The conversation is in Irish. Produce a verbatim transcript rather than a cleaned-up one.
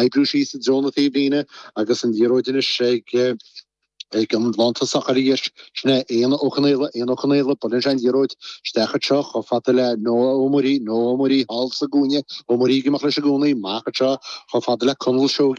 Oibriú síos i dtreo na taobhlíne agus an liathróid anois ag ag an lántosach arís sin é Éanna Ó Conaola Éanna Ó Conaola buaileann sé an liathróid isteach anseo chomh fada le Noah Ó Muirí Noah Ó Muirí thall sa gcúinne Ó Muirí ag imeacht leis i gcónaí amach anseo chomh fada le Conall Seoige